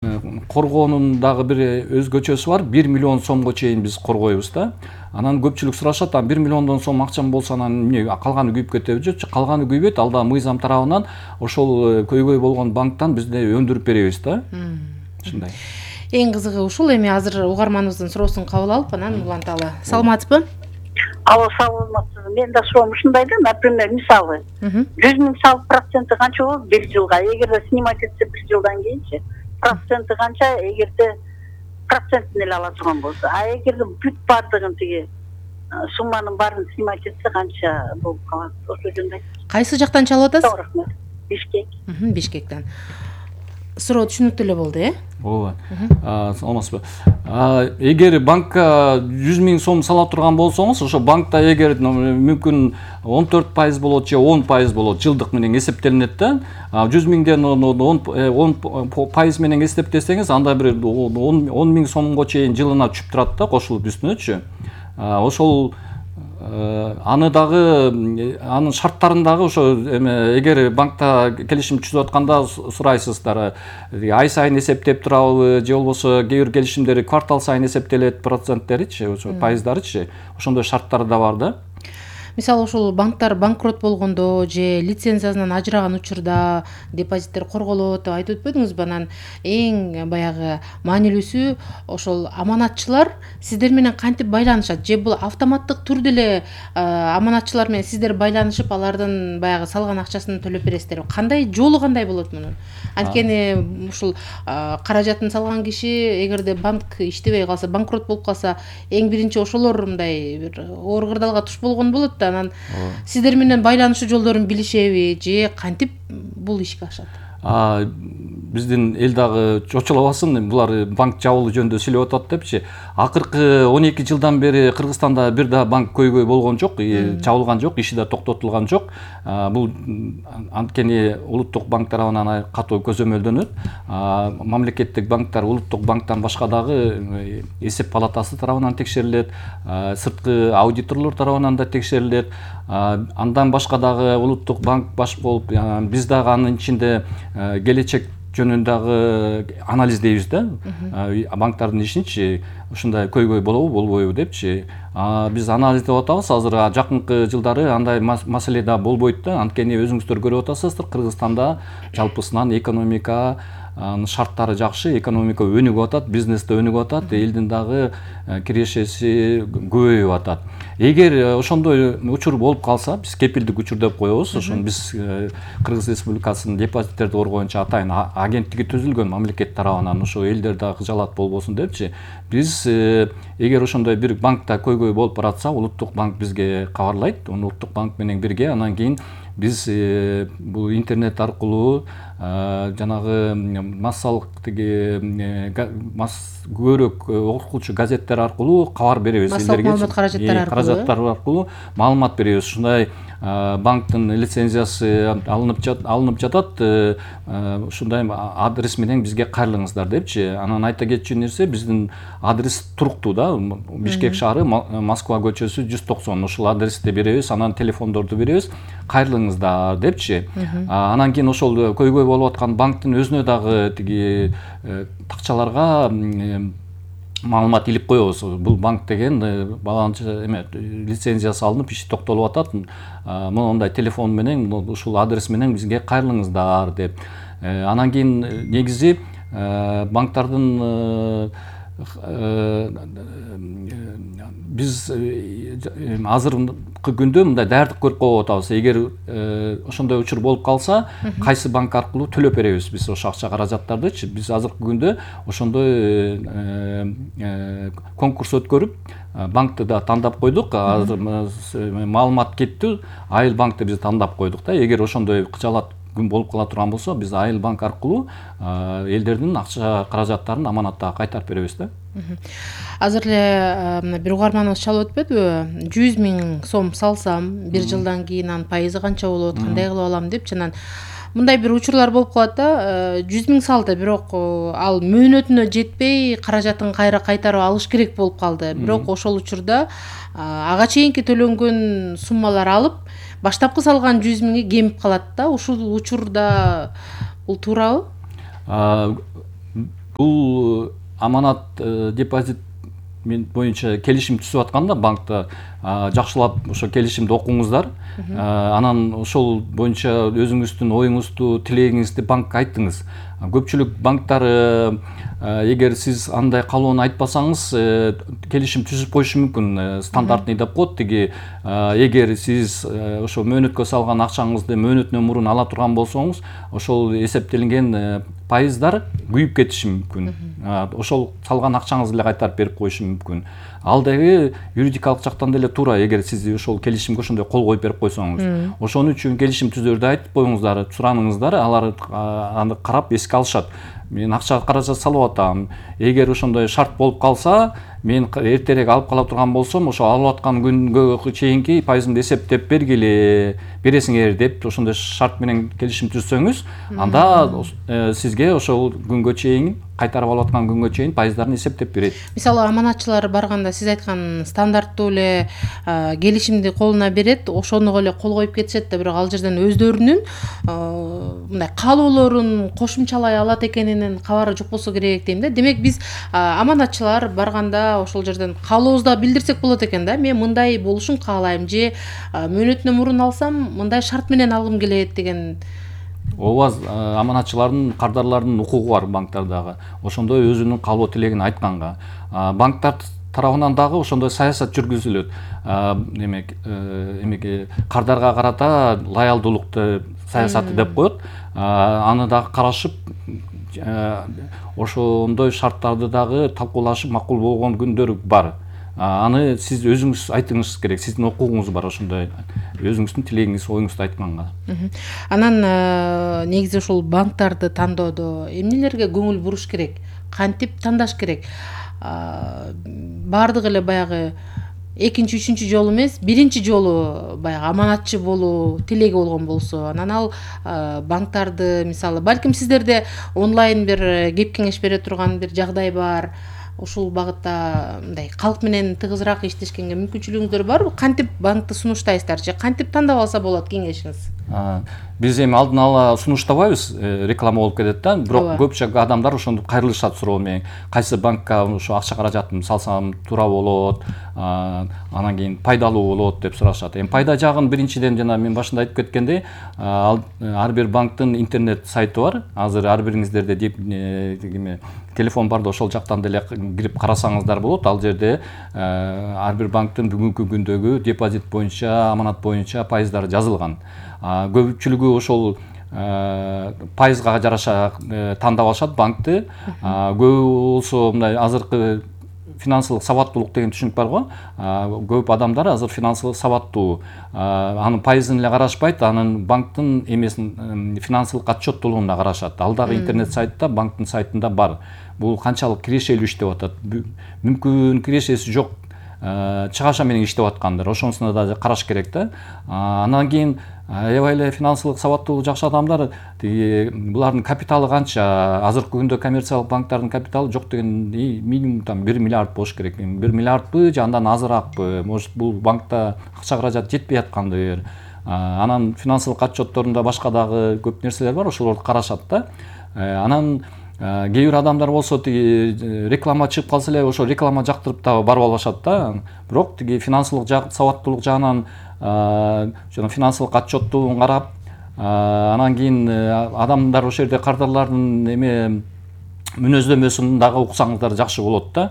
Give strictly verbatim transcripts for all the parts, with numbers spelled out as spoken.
Коргоонун дагы бир өзгөчөсү бар. бир миллион сомго чейин биз коргойбуз да. Анан көпчүлүк сурашат, бир миллиондон сом акчам болсо анан эмне калганы күйүп кетеби? Жок, калганы күйбөйт. Ал да мыйзам тарабынан ошол көйгөй болгон банктан бизде өндүрүп беребиз да. Ушундай. Эң кызыгы ушул. Эми азыр угарманыбыздын суроосун кабыл алып, анан уланталы. Саламатсызбы? Алло, саламатсызбы. Мен да суроом ушундай да, например, мисалы, жүз миң салык проценти канча болот бир жылга? Эгерде снимать этсе бир жылдан кийинчи, проценти канча, эгерде процентин эле ала турган болсо, а эгерде бүт бардыгын тиги сумманын баарын снимать этсе канча болуп калат? Ошо жөнүндө айтыңызчы. Кайсы жактан чалып атасыз? Рахмат. Бишкек. Бишкектен. Суроо түшүнүктүү эле болду, э? Ооба. Саламатсызбы. Эгер банкка жүз миң сом сала турган болсоңуз, ошо банкта эгер мүмкүн он төрт пайыз болот же он пайыз болот, жылдык менен эсептелинет да. жүз миңден он пайыз менен эсептесеңиз, анда бир он миң сомго чейин жылына түшүп турат да, кошулуп үстүнөчү. Ошол аны дагы анын шарттарын дагы ошо эгер банкта келишим түзүп атканда сурайсыздар, ай сайын эсептеп турабы же болбосо кээ бир келишимдери квартал сайын эсептелет проценттеричи, ошо пайыздарычы, ошондой шарттары да бар да. Мисалы ушул банктар банкрот болгондо же лицензиясынан ажыраган учурда депозиттер корголот деп айтып өтпөдүңүзбү? Анан эң баягы маанилүүсү ошол аманатчылар сиздер менен кантип байланышат? Же бул автоматтык түрдө эле аманатчылар менен сиздер байланышып, алардын баягы салган акчасын төлөп бересиздерби? Кандай жолу кандай болот мунун? Анткени ушул каражатын салган киши эгерде банк иштебей калса, банкрот болуп калса, эң биринчи ошолор мындай бир оор кырдаалга туш болгон болот. Анан сиздер менен байланышуу жолдорун билишеби же кантип бул ишке ашат? Биздин эл дагы чочулабасын, булар банк жабылуу жөнүндө сүйлөп атат депчи. Акыркы он эки жылдан бери Кыргызстанда бир да банк көйгөй болгон жок, жабылган жок, иши да токтотулган жок. Бул анткени улуттук банк тарабынан катуу көзөмөлдөнөт. Мамлекеттик банктар улуттук банктан башка дагы эсеп палатасы тарабынан текшерилет, сырткы аудиторлор тарабынан да текшерилет. Андан башка дагы улуттук банк баш болуп, биз дагы анын ичинде келечек жөнүндөгү анализдейбиз да. Банктардын ишинчи ушундай көйгөй болобу, болбойбу депчи. Биз анализдеп атабыз. Азыр жакынкы жылдары андай маселе да болбойт да. Анткени өзүңүздөр көрүп атасыздар, Кыргызстанда жалпысынан экономика шарттары жакшы, экономика өнүгүп атат, бизнес да өнүгүп атат, элдин дагы кирешеси көбөйүп атат. Эгер ошондой учур болуп калса, биз кепилдик учур деп коебуз. Ошону биз Кыргыз Республикасынын депозиттерди коргоончу атайын агенттиги түзүлгөн мамлекет тарабынан, ошо элдер дагы кыжалат болбосун депчи. Биз эгер ошондой бир банкта көйгөй болуп баратса, улуттук банк бизге кабарлайт. Улуттук банк менен бирге анан кийин биз бул интернет аркылуу жанагы массалык тиги көбүрөөк окуучу газеттер аркылуу кабар беребиз. Массалык маалымат каражаттары аркылуу маалымат беребиз. Ушундай банктын лицензиясы алынып жатат, ушундай адрес менен бизге кайрылыңыздар депчи. Анан айта кетчү нерсе, биздин адрес туруктуу да. Бишкек шаары, Москва көчөсү жүз токсон. Ушул адрести беребиз, анан телефондорду беребиз, кайрылыңыздар депчи. Анан кийин ошол көйгөй болуп аткан банктын өзүнө дагы тиги такчаларга маалымат илип коебуз. Бул банк деген баланча эме лицензиясы алынып, иши токтолуп атат. Мондай телефон менен, ушул адрес менен бизге кайрылыңыздар деп. Анан кийин негизи банктардын биз азыркы күндө мындай даярдык көрүп коюп атабыз. Эгер ошондой учур болуп калса, кайсы банк аркылуу төлөп беребиз биз ошо акча каражаттардычы. Биз азыркы күндө ошондой конкурс өткөрүп, банкты да тандап койдук. Азыр маалымат кетти, Айыл банкты биз тандап койдук да. Эгер ошондой кыжалат күн болуп кала турган болсо, биз Айыл банк аркылуу элдердин акча каражаттарын аманатта кайтарып беребиз да. Азыр эле бир угарманыбыз чалып өтпөдүбү? жүз миң сом салсам, бир жылдан кийин анын пайызы канча болот, кандай кылып алам деп. Анан мындай бир учурлар болуп калат да. жүз миң салды, бирок ал мөөнөтүнө жетпей, каражатын кайра кайтарып алыш керек болуп калды. Бирок ошол учурда ага чейинки төлөнгөн суммалар алып, баштапкы салган жүз миңи кемип калат да. Ушул учурда бул туурабы? бул аманат депозит боюнча келишим түзүп атканда банкта жакшылап ошо келишимди окуңуздар, анан ошол боюнча өзүңүздүн оюңузду, тилегиңизди банкка айттыңыз. Көпчүлүк банктар эгер сиз андай каалоону айтпасаңыз келишим түзүп коюшу мүмкүн, стандартный деп коет. Тиги эгер сиз ошо мөөнөткө салган акчаңызды мөөнөтүнөн мурун ала турган болсоңуз, ошол эсептелинген пайыздар күйүп кетиши мүмкүн. Ошол салган акчаңызды эле кайтарып берип коюшу мүмкүн. Ал дагы юридикалык жактан деле туура, эгер сиз ошол келишимге ошондой кол коюп берип койсоңуз. Ошон үчүн келишим түзөрдө айтып коюңуздар, сураныңыздар, алар аны карап эске алышат. Мен акча каражат салып атам. Эгер ошондой шарт болуп калса, мен эртерээк алып кала турган болсом, ошо алып аткан күнгө чейинки пайызымды эсептеп бергиле, бересиңер деп ошондой шарт менен келишим түзсөңүз, анда сизге ошол күнгө чейин, кайтарып алып аткан күнгө чейин пайыздарын эсептеп берет. Мисалы аманатчылар барганда сиз айткан стандарттуу эле келишимди колуна берет, ошону эле кол коюп кетишет да, бирок ал жерден өздөрүнүн мындай каалоолорун кошумчалай алат экенинин кабары жок болсо керек дейм да. Демек биз аманатчылар барганда ошол жерден каалообузду билдирсек болот экен да. Мен мындай болушун каалайм же мөөнөтүнөн мурун алсам мындай шарт менен алгым келет деген. Ооба, аманатчылардын, кардарлардын укугу бар банктардагы. Ошондой өзүнүн каалоо тилегин айтканга. Банктар тарабынан дагы ошондой саясат жүргүзүлөт. Демек, эмеге кардарга карата лоялдуулукту саясаты деп коет. Аны дагы карашып, ошондой шарттарды дагы талкуулашып макул болгон күндөр бар. Аны сиз өзүңүз айтыңыз керек, сиздин укугуңуз бар ошондой өзүңүздүн тилегиңиз, оюңузду айтканга. Анан негизи ушул банктарды тандоодо эмнелерге көңүл буруш керек, кантип тандаш керек? Баардыгы эле баягы экинчи, үчүнчү жолу эмес, биринчи жолу баягы аманатчы болуу тилеги болгон болсо, анан ал банктарды, мисалы, балким сиздерде онлайн бир кеп кеңеш бере турган бир жагдай бар. Ушул багытта мындай калк менен тыгызыраак иштешкенге мүмкүнчүлүгүңүздөр барбы? Кантип банкты сунуштайсыздар же кантип тандап алса болот кеңешиңиз? Биз эми алдын ала сунуштабайбыз, реклама болуп кетет да. Бирок көпчө адамдар ошондо кайрылышат суроо менен. Кайсы банкка ошо акча каражатымды салсам туура болот, анан кийин пайдалуу болот деп сурашат. Эми пайда жагын биринчиден жана мен башында айтып кеткендей, ар бир банктын интернет сайту бар. Азыр ар бириңиздерде телефон бар да, ошол жактан деле кирип карасаңыздар болот. Ал жерде ар бир банктын бүгүнкү күндөгү депозит боюнча, аманат боюнча пайыздары жазылган. Көпчүлүгү ошол пайызга жараша тандап алышат банкты. Көбү болсо мындай азыркы финансылык сабаттуулук деген түшүнүк бар го. Көп адамдар азыр финансылык сабаттуу. Анын пайызын эле карашпайт, анын банктын эмесин, финансылык отчеттуулугун карашат. Ал дагы интернет сайтта, банктын сайтында бар. Бул канчалык кирешелүү иштеп атат, мүмкүн кирешеси жок чыгаша менен иштеп аткандар, ошонусуна да караш керек да. Анан кийин аябай эле финансылык сабаттуулугу жакшы адамдар, булардын капиталы канча? Азыркы күндө коммерциялык банктардын капиталы жок деген минимум там бир миллиард болуш керек. бир миллиардбы же андан азыраакпы? Может, бул банкта акча каражат жетпей аткандыр. Анан финансылык отчетторунда башка дагы көп нерселер бар, ошолорду карашат да. Анан кээ бир адамдар болсо тиги реклама чыгып калса эле ошо реклама жактырып да барып алышат да. Бирок тиги финансылык сабаттуулук жагынан жана финансылык отчеттуулугун карап, анан кийин адамдар ошол жерде кардарлардын эме мүнөздөмөсүн дагы уксаңыздар жакшы болот да.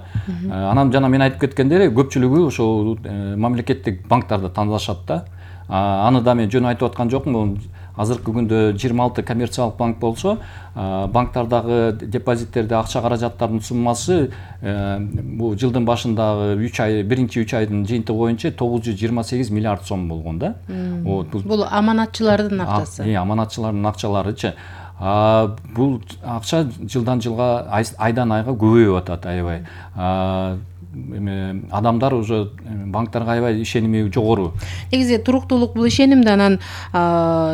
Анан жана мен айтып кеткендей, көпчүлүгү ошол мамлекеттик банктарды тандашат да. Аны да мен жөн айтып аткан жокмун. Азыркы күндө жыйырма алты коммерциялык банк болсо, банктардагы депозиттерде акча каражаттардын суммасы бул жылдын башындагы үч ай, биринчи үч айдын жыйынтыгы боюнча тогуз жүз жыйырма сегиз миллиард сом болгон да. Бул аманатчылардын акчасы. Э, аманатчылардын акчаларычы. Бул акча жылдан жылга, айдан айга көбөйүп атат аябай. эме адамдар уже банктарга аябай ишеними жогору. Негизи туруктуулук бул ишенимди анан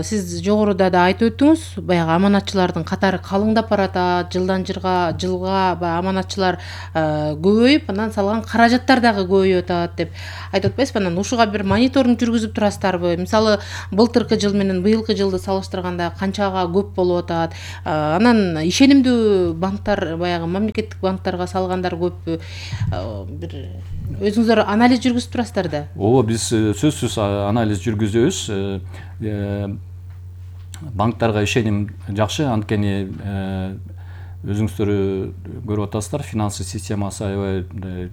сиз жогоруда да айтып өттүңүз, баягы аманатчылардын катары калыңдап баратат, жылдан жылга жылга баягы аманатчылар көбөйүп, анан салган каражаттар дагы көбөйүп атат деп айтып атпайсызбы? Анан ушуга бир мониторинг жүргүзүп турасыздарбы? Мисалы, былтыркы жыл менен быйылкы жылды салыштырганда канчага көп болуп атат? Анан ишенимдүү банктар, баягы мамлекеттик банктарга салгандар көппү? Бир өзүңүздөр анализ жүргүзүп турасыздар да? Ооба, биз сөзсүз анализ жүргүзөбүз. Банктарга ишеним жакшы, анткени өзүңүздөр көрүп атасыздар, финансы системасы аябай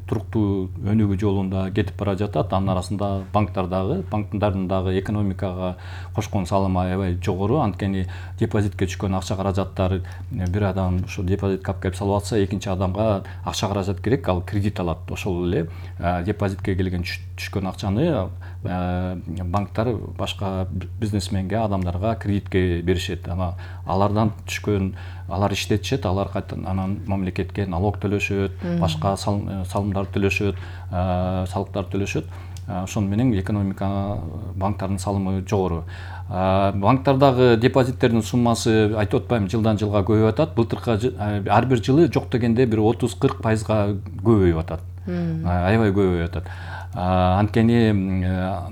туруктуу өнүгүү жолунда кетип бара жатат. Анын арасында банктар дагы, банктардын дагы экономикага кошкон салымы аябай жогору. Анткени депозитке түшкөн акча каражаттар, бир адам ошо депозитке алып келип салып атса, экинчи адамга акча каражат керек, ал кредит алат. Ошол эле депозитке келген түшкөн акчаны банктар башка бизнесменге, адамдарга кредитке беришет. Ана алардан түшкөн, алар иштетишет, алар кайтадан анан мамлекетке налог төлөшөт, башка салымдар төлөшөт, салыктар төлөшөт. Ошону менен экономика, банктардын салымы жогору. Банктардагы депозиттердин суммасы, айтып атпайм, жылдан жылга көбөйүп атат. Былтыркы ар бир жылы жок дегенде бир отуз кырк пайызга көбөйүп атат. Аябай көбөйүп атат. Анткени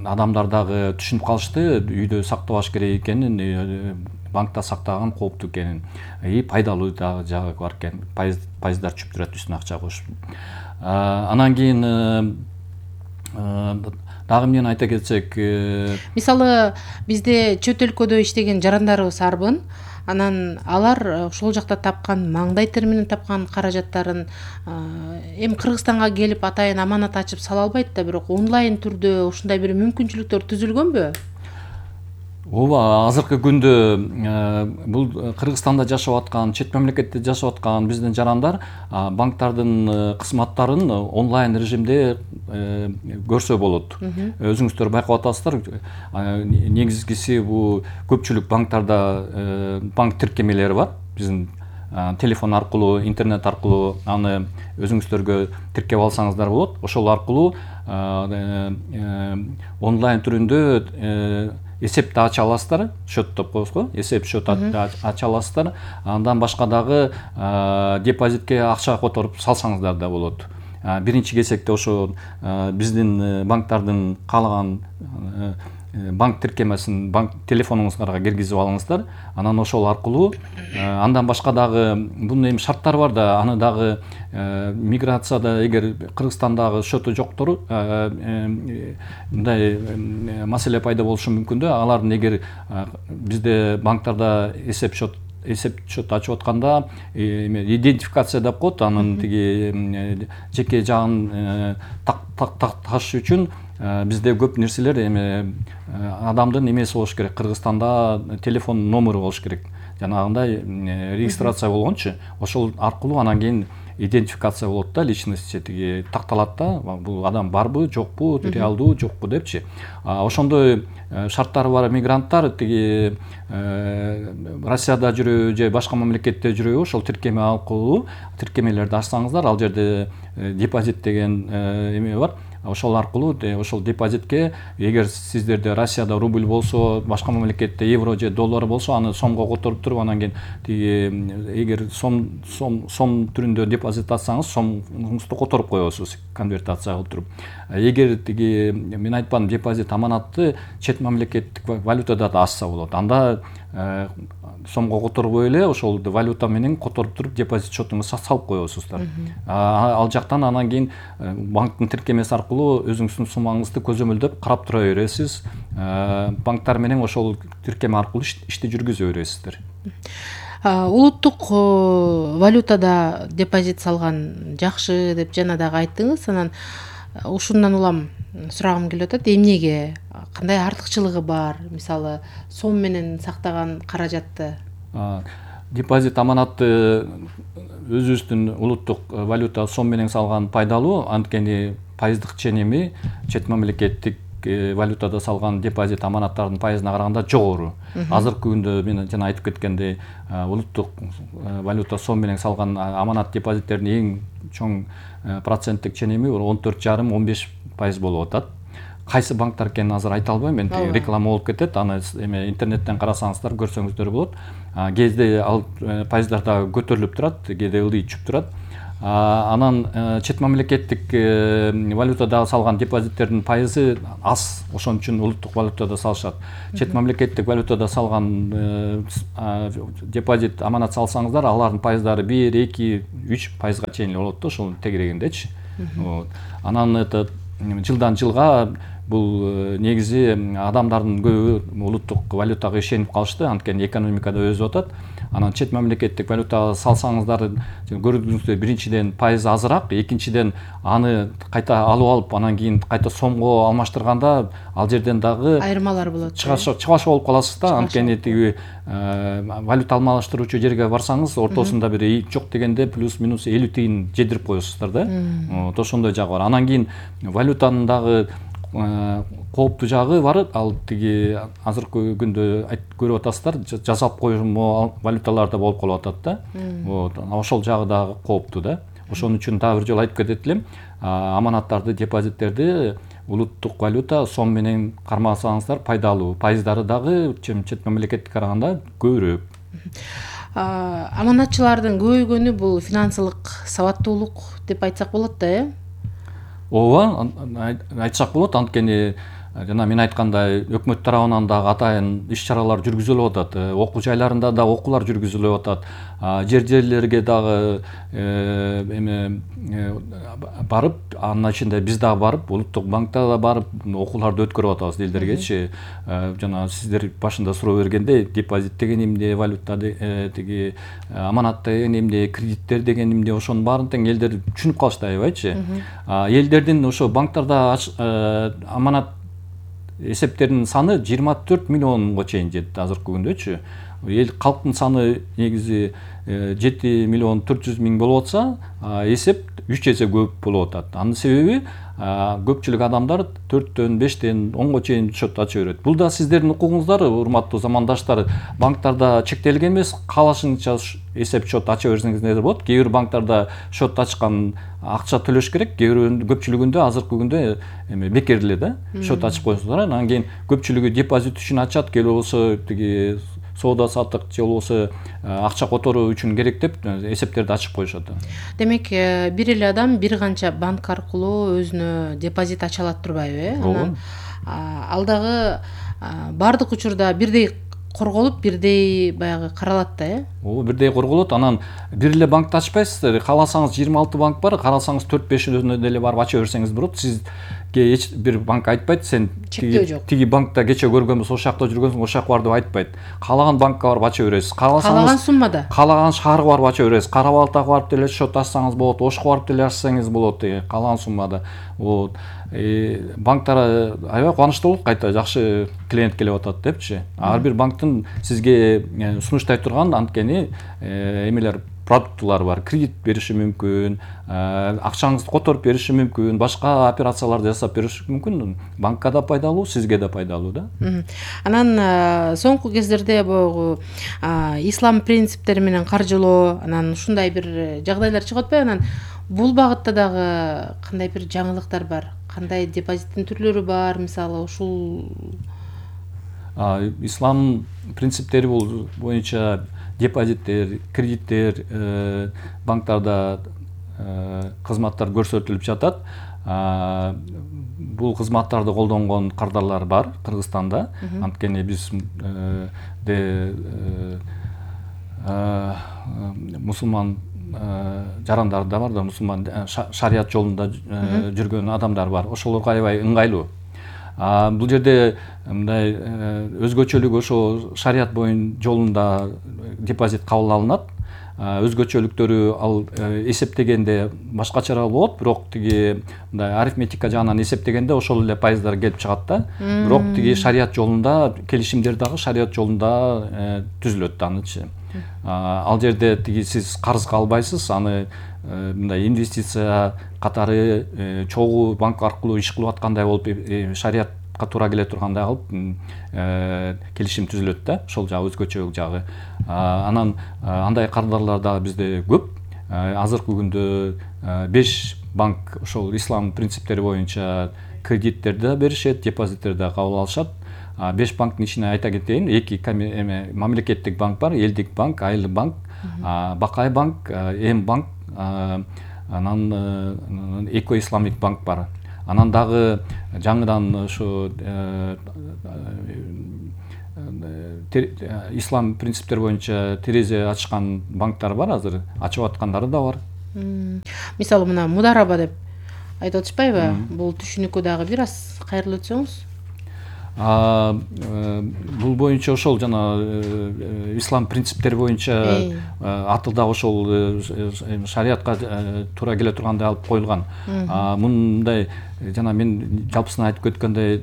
адамдар дагы түшүнүп калышты, үйдө сактабаш керек экенин, банкта сактаган кооптуу экенин, и пайдалуу дагы жагы бар экен. Пайыздар түшүп турат үстүнө акча кошуп. Анан кийин дагы эмнени айта кетсек, мисалы, бизде чөт өлкөдө иштеген жарандарыбыз арбын. Анан алар ошол жакта тапкан, маңдай тери менен тапкан каражаттарын эми Кыргызстанга келип атайын аманат ачып сала албайт да, бирок онлайн түрдө ушундай бир мүмкүнчүлүктөр түзүлгөнбү? Ооба, азыркы күндө бул Кыргызстанда жашап аткан, чет мамлекетте жашап аткан биздин жарандар банктардын кызматтарын онлайн режимде көрсө болот. Өзүңүздөр байкап атасыздар, негизгиси бул көпчүлүк банктарда банк тиркемелери бар. Биздин телефон аркылуу, интернет аркылуу аны өзүңүздөргө тиркеп алсаңыздар болот. Ошол аркылуу онлайн түрүндө эсепти ача аласыздар, счет деп коебуз го, эсеп счет ача аласыздар. Андан башка дагы депозитке акча которуп салсаңыздар да болот. Биринчи кезекте ошо биздин банктардын каалаган банк тиркемесин банк телефонуңуздарга киргизип алыңыздар. Анан ошол аркылуу андан башка дагы бунун эми шарттары бар да, аны дагы миграцияда эгер Кыргызстандагы счету жоктор, мындай маселе пайда болушу мүмкүн да. Алардын эгер бизде банктарда эсеп счет эсеп счет ачып атканда идентификация деп коет, анын тиги жеке жагын такташ үчүн бизде көп нерселер эми адамдын эмеси болуш керек. Кыргызстанда телефон номеру болуш керек. Жанагындай регистрация болгончу, ошол аркылуу анан кийин идентификация болот да, личность тиги такталат да, бул адам барбы, жокпу, реалдуу, жокпу депчи. Ошондой шарттары бар мигранттар тиги Россияда жүрөбү же башка мамлекетте жүрөбү, ошол тиркеме аркылуу тиркемелерди ачсаңыздар, ал жерде депозит деген эме бар. Ошол аркылуу ошол депозитке, эгер сиздерде Россияда рубль болсо, башка мамлекетте евро же доллар болсо, аны сомго которуп туруп, анан кийин тиги эгер сом сом сом түрүндө депозит ачсаңыз, сомуңузду которуп коесуз, конвертация кылып туруп. Эгер тиги мен айтпадым, депозит аманатты чет мамлекеттик валютада да ачса болот. Анда сомго которбой эле ошол валюта менен которуп туруп депозит счетуңузга салып коесуздар. Ал жактан анан кийин банктын тиркемеси аркылуу өзүңүздүн суммаңызды көзөмөлдөп карап тура бересиз. Банктар менен ошол тиркеме аркылуу ишти жүргүзө бересиздер. Улуттук валютада депозит салган жакшы деп жана дагы айттыңыз. Анан ушундан улам сурагым келип атат, эмнеге, кандай артыкчылыгы бар? Мисалы, сом менен сактаган каражатты. Депозит аманатты өзүбүздүн улуттук валюта сом менен салган пайдалуу, анткени пайыздык ченеми чет мамлекеттик валютада салган депозит аманаттардын пайызына караганда жогору. Азыркы күндө мен жана айтып кеткендей, улуттук валюта сом менен салган аманат депозиттердин эң чоң проценттик ченеми он төрт жарым он беш пайыз болуп атат. Кайсы банктар экенин азыр айта албайм, мен реклама болуп кетет, аны эме интернеттен карасаңыздар көрсөңүздөр болот. Кээде ал пайыздар да көтөрүлүп турат, кээде ылдый түшүп турат. Анан чет мамлекеттик валютада салган депозиттердин пайызы аз, ошон үчүн улуттук валютада салышат. Чет мамлекеттик валютада салган депозит, аманат салсаңыздар, алардын пайыздары бир, эки, үч пайызга чейин болот да, ошол тегерегиндечи. Анан это жылдан жылга бул негизи адамдардын көбү улуттук валютага ишенип калышты, анткени экономикада өсүп атат. Анан чет мамлекеттик валютага салсаңыздар, көрдүңүздөр, биринчиден пайыз азыраак, экинчиден аны кайта алып алып, анан кийин кайта сомго алмаштырганда ал жерден дагы айырмалар болот. Чыгаш болуп каласыз да, анткени тиги валюта алмаштыруучу жерге барсаңыз, ортосунда бир жок дегенде плюс-минус элүү тыйын жедирип коесуздар да. Вот ошондой жагы бар. Анан кийин валютанын дагы кооптуу жагы бар. Ал тиги азыркы күндө көрүп атасыздар, жасап коюлма валюталарда болуп калып атат да. Вот ошол жагы дагы кооптуу да. Ошон үчүн дагы бир жолу айтып кетет элем, аманаттарды, депозиттерди улуттук валюта сом менен кармасаңыздар пайдалуу. Пайыздары дагы чет мамлекетке караганда көбүрөөк. Аманатчылардын көбөйгөнү бул финансылык сабаттуулук деп айтсак болот да, э? Ооба, айтсак болот, анткени жана мен айткандай өкмөт тарабынан дагы атайын иш-чаралар жүргүзүлүп атат. Окуу жайларында да окуулар жүргүзүлүп атат. Жер-жерлерге дагы эме барып, анын ичинде биз дагы барып, улуттук банкта да барып окууларды өткөрүп атабыз элдергечи. Жана сиздер башында суроо бергенде депозит деген эмне, валюта тиги аманат деген эмне, кредиттер деген эмне, ошонун баарын тең элдер түшүнүп калышты аябайчы. Элдердин ошо банктарда аманат эсептердин саны жыйырма төрт миллионго чейин жетти азыркы күндөчү. Эл калктын саны негизи жети миллион төрт жүз миң болуп атса, эсеп үч эсе көп болуп атат. Анын себеби көпчүлүк адамдар төрттөн, бештен, онго чейин счет ача берет. Бул да сиздердин укугуңуздар, урматтуу замандаштар. Банктарда чектелген эмес, каалашыңызча эсеп счет ача берсеңиздер болот. Кээ бир банктарда счет ачкан акча төлөш керек, кээ бир көпчүлүгүндө азыркы күндө эме бекер эле да, счет ачып коесуңуздар. Анан кийин көпчүлүгү депозит үчүн ачат, келе болсо тиги соода саттык же болбосо акча которуу үчүн керек деп эсептерди ачып коюшат. Демек, бир эле адам бир канча банк аркылуу өзүнө депозит ача алат турбайбы, э? Анан ал дагы бардык учурда бирдей корголуп, бирдей баягы каралат да, э? Ооба, бирдей корголот. Анан бир эле банкты ачпайсыздар. Кааласаңыз жыйырма алты банк бар, карасаңыз төрт бешөөсүнө деле барып ача берсеңиз болот. Сизге эч бир банк айтпайт, сен тиги банкта кече көргөнбүз, ошол жакта жүргөнсүң, ошол жака бар деп айтпайт. Каалаган банкка барып ача бересиз. Каалаган суммада. Каалаган шаарга барып ача бересиз. Кара Балтага барып деле счет ачсаңыз болот, Ошко барып деле ачсаңыз болот, каалаган суммада. Вот. Банктар аябай кубанычтуу болуп кайта жакшы клиент келип атат депчи. Ар бир банктын сизге сунуштай турган анткени эмелер, продуктулар бар. Кредит бериши мүмкүн, акчаңызды которуп бериши мүмкүн, башка операцияларды жасап бериши мүмкүн. Банкка да пайдалуу, сизге да пайдалуу да. Анан соңку кездерде бул ислам принциптери менен каржылоо, анан ушундай бир жагдайлар чыгып атпайбы? Анан бул багытта дагы кандай бир жаңылыктар бар? Кандай депозиттин түрлөрү бар, мисалы ушул? Ислам принциптери бул боюнча депозиттер, кредиттер, банктарда кызматтар көрсөтүлүп жатат. Бул кызматтарды колдонгон кардарлар бар Кыргызстанда. Анткени биз де мусулман жарандар да бар да, мусулман шарият жолунда жүргөн адамдар бар. Ошолорго аябай ыңгайлуу. Бул жерде мындай өзгөчөлүк ошо шарият боюн жолунда депозит кабыл алынат. Өзгөчөлүктөрү ал эсептегенде башкачараак болот, бирок тиги мындай арифметика жагынан эсептегенде ошол эле пайыздар келип чыгат да. Бирок тиги шарият жолунда келишимдер дагы шарият жолунда түзүлөт да анычы. Ал жерде тиги сиз карызга албайсыз, аны мындай инвестиция катары чогуу банк аркылуу иш кылып аткандай болуп шариятка туура келе тургандай кылып келишим түзүлөт да, ошол жагы өзгөчө жагы. Анан андай кардарлар дагы бизде көп. азыркы күндө беш банк ошол ислам принциптери боюнча кредиттерди да беришет, депозиттерди да кабыл алышат. Беш банктын ичине айта кетейин, эки эме мамлекеттик банк бар, элдик банк, айыл банк, Бакай банк, Эм банк, анан Эко Исламик банк бар. Анан дагы жаңыдан ошо ислам принциптери боюнча терезе ачкан банктар бар, азыр ачып аткандары да бар. Мисалы мына мудараба деп айтып атышпайбы? Бул түшүнүккө дагы бир аз кайрылып өтсөңүз. Бул боюнча ошол жана ислам принциптери боюнча аты да ошол шариатка туура келе тургандай алып коюлган. Мындай жана мен жалпысынан айтып өткөндөй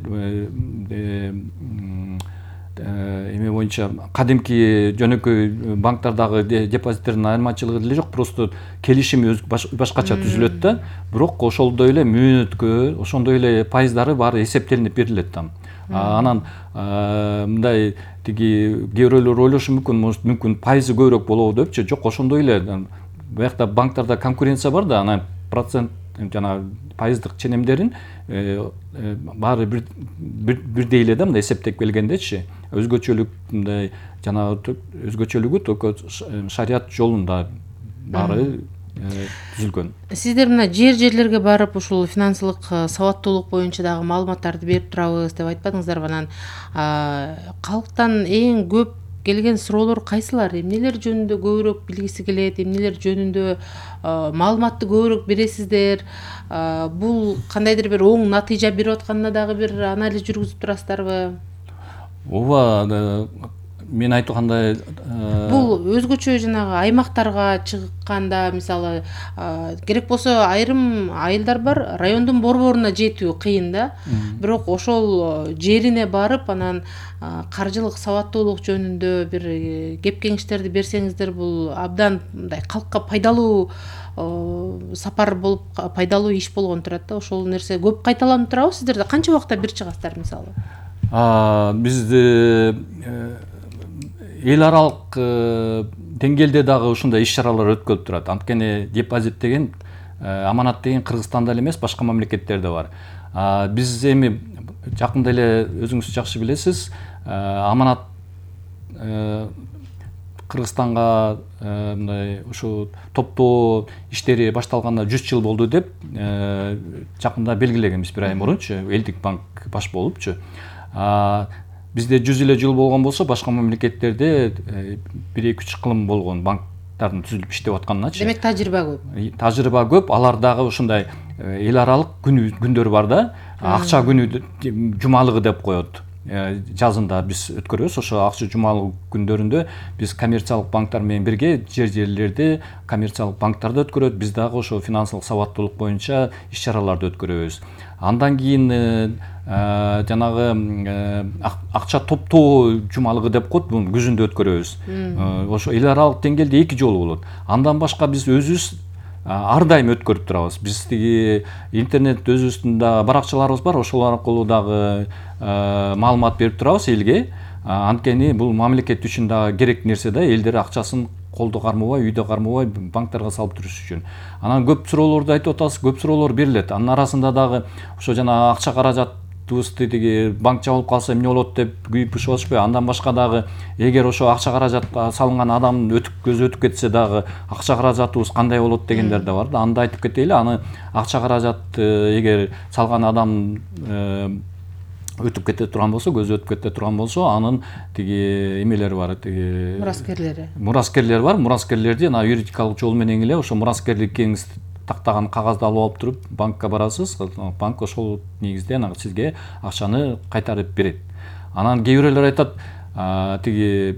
эме боюнча кадимки жөнөкөй банктардагы депозиттердин айырмачылыгы деле жок, просто келишими башкача түзүлөт да, бирок ошолдой эле мөөнөткө, ошондой эле пайыздары баары эсептелинип берилет там. Анан мындай тиги кээ бирөөлөр ойлошу мүмкүн, мүмкүн пайызы көбүрөөк болобу депчи, жок, ошондой эле. Буякта банктарда конкуренция бар да, анан процент жана пайыздык ченемдерин баары бирдей эле да, мындай эсептеп келгендечи. Өзгөчөлүк мындай жана өзгөчөлүгү только шариат жолунда баары түзүлгөн. Сиздер мына жер жерлерге барып ушул финансылык сабаттуулук боюнча дагы маалыматтарды берип турабыз деп айтпадыңыздарбы? Анан калктан эң көп келген суроолор кайсылар? Эмнелер жөнүндө көбүрөөк билгиси келет, эмнелер жөнүндө маалыматты көбүрөөк бересиздер? Бул кандайдыр бир оң натыйжа берип атканына дагы бир анализ жүргүзүп турасыздарбы? Ооба, мен айткандай бул өзгөчө жанагы аймактарга чыкканда, мисалы, керек болсо айрым айылдар бар, райондун борборуна жетүү кыйын да. Бирок ошол жерине барып, анан каржылык сабаттуулук жөнүндө бир кеп кеңештерди берсеңиздер, бул абдан мындай калкка пайдалуу сапар болуп, пайдалуу иш болгон турат да. Ошол нерсе көп кайталанып турабы сиздерде? Канча убакта бир чыгасыздар мисалы? Бизде эл аралык деңгээлде дагы ушундай иш-чаралар өткөрүлүп турат. Анткени депозит деген, аманат деген Кыргызстанда эле эмес, башка мамлекеттерде бар. Биз эми жакында эле өзүңүз жакшы билесиз, аманат Кыргызстанга мындай ушу топтоо иштери башталганына жүз жыл болду деп жакында белгилегенбиз, бир ай мурунчу, элдик банк баш болупчу. Бизде жүз элүү жыл болгон болсо, башка мамлекеттерде бир эки үч кылым болгон банктардын түзүлүп иштеп атканычы. Демек тажрыйба көп. Тажрыйба көп. Алар дагы ушундай эл аралык күндөр бар да. Акча күнү жумалыгы деп коет. Жазында биз өткөрөбүз. Ошо акча жумалык күндөрүндө биз коммерциялык банктар менен бирге жер жерлерде коммерциялык банктарда өткөрөт. Биз дагы ошо финансылык сабаттуулук боюнча иш-чараларды өткөрөбүз. Андан кийин жанагы акча топтоо жумалыгы деп коет, буну күзүндө өткөрөбүз. Ошо эл аралык деңгээлде эки жолу болот. Андан башка биз өзүбүз ар дайым өткөрүп турабыз. Биз тиги интернет өзүбүздүн да баракчаларыбыз бар, ошол аркылуу дагы маалымат берип турабыз элге. Анткени бул мамлекет үчүн да керек нерсе да, элдер акчасын колдо кармабай, үйдө кармабай банктарга салып туруш үчүн. Анан көп суроолорду айтып атасыз, көп суроолор берилет. Анын арасында дагы ошо жана акча каражатыбызды тиги банк жабылып калса эмне болот деп күйүп бышып атышпайбы? Андан башка дагы эгер ошо акча каражатка салынган адам өтүп көзү өтүп кетсе дагы акча каражатыбыз кандай болот дегендер да бар да. Аны да айтып кетели. Аны акча каражат эгер салган адам өтүп кете турган болсо, көзү өтүп кете турган болсо, анын тиги эмелери бар, тиги мураскерлери. Мураскерлер бар. Мураскерлерди ана юридикалык жол менен эле ошо мураскерликиңиз тактаган кагазды алып алып туруп банкка барасыз. Банк ошол негизде ана сизге акчаны кайтарып берет. Анан кээ бирөөлөр айтат, тиги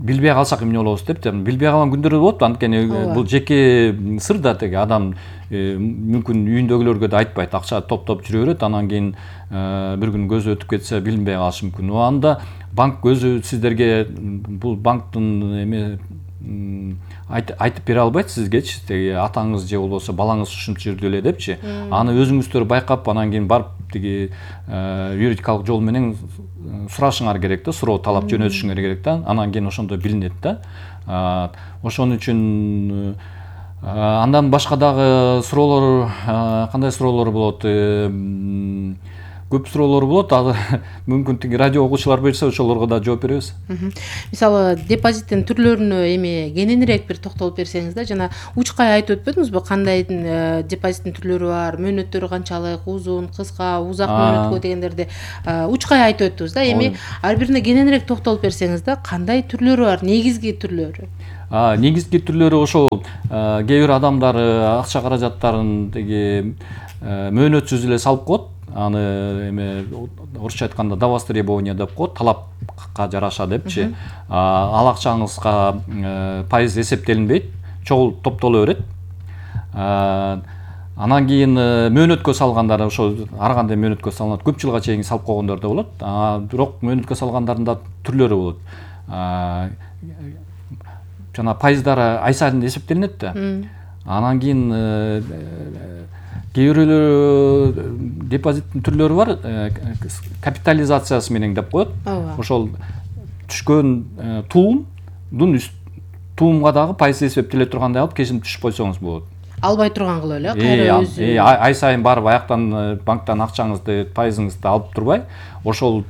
билбей калсак эмне болобуз деп, билбей калган күндөр болот. Анткени бул жеке сыр да, тиги адам мүмкүн үйүндөгүлөргө да айтпайт, акча топтоп жүрө берет, анан кийин бир күн көзү өтүп кетсе билинбей калышы мүмкүн. Анда банк өзү сиздерге бул банктын эме айтып бере албайт сизгечи, тиги атаңыз же болбосо балаңыз ушунча жерде эле депчи. Аны өзүңүздөр байкап, анан кийин барып тиги юридикалык жол менен сурашыңар керек да, суроо талап жөнөтүшүңөр керек да. Анан кийин ошондо билинет да. Ошон үчүн андан башка дагы суроолор, кандай суроолор болот? Көп суроолор болот. Азыр мүмкүн тиги радио угуучулар берсе, ошолорго да жооп беребиз. Мисалы, депозиттин түрлөрүнө эми кененирээк бир токтолуп берсеңиз да, жана учкай айтып өтпөдүңүзбү, кандай депозиттин түрлөрү бар, мөөнөттөрү канчалык, узун, кыска, узак мөөнөткө дегендерди учкай айтып өттүбүз да. Эми ар бирине кененирээк токтолуп берсеңиз да, кандай түрлөрү бар, негизги түрлөрү? Негизги түрлөрү ошол кээ бир адамдар акча каражаттарын тиги мөөнөтсүз эле салып коет. Аны эме орусча айтканда до востребования деп коет, талапка жараша депчи. Ал акчаңызга пайыз эсептелинбейт, чогул топтоло берет. Анан кийин мөөнөткө салгандар, ошо ар кандай мөөнөткө салынат, көп жылга чейин салып койгондор да болот. Бирок мөөнөткө салгандардын да түрлөрү болот. Жана пайыздары ай сайын эсептелинет да. Анан кийин кээ бирөөлөр депозиттин түрлөрү бар, капитализациясы менен деп коет. Ошол түшкөн туумдун туумга дагы пайыз эсептеле тургандай алып кесим түшүп койсоңуз болот. Албай турган кылып эле, кайра өзү. Ай сайын барып аяктан банктан акчаңызды, пайызыңызды алып турбай, ошол